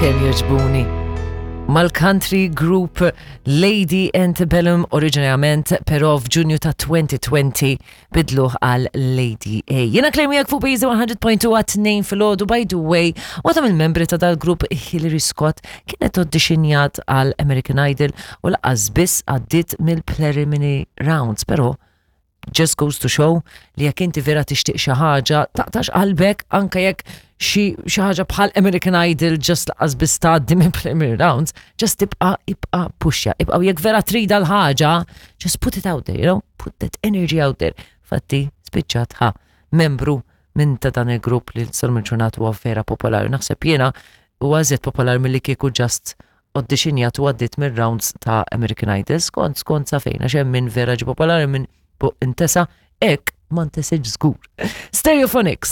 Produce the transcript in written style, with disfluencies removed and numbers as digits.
Kemm jogħġbuni. Mal-country group Lady Antebellum oriġinarjament, però f'Ġunju ta' 2020 bidluh għal Lady A. Jiena Claire miegħek fuq Bizi 100.2 għat-tnejn filgħodu by the way, waħda mill-membri ta' dal-grupp Hillary Scott kienet auditionjat għal American Idol u laqas biss għaddiet mill-preliminary rounds, però just goes to show li jekk inti vera tixtieq xi ħaġa, taqtax qalbek anke jekk xi ħaġa bħal American Idol just laqas biss tgħaddi minn preliminary rounds, just tibqa' ibqa' puxja, ibqa' jekk vera trida l-ħaġa, just put it out there, you know, put that energy out there. Fatti, spiċċat ħa membru minn ta' dan il-grupp li sal ġurnata huwa vera popolari. Naħseb jiena huwa iżjed popolari milli kieku just auditionjat u għaddit mir-rounds ta' American Idol skont skont sa fejn għax hemm min vera ġi popolari minn intesa hekk ma ntesiex żgur. Stereophonics.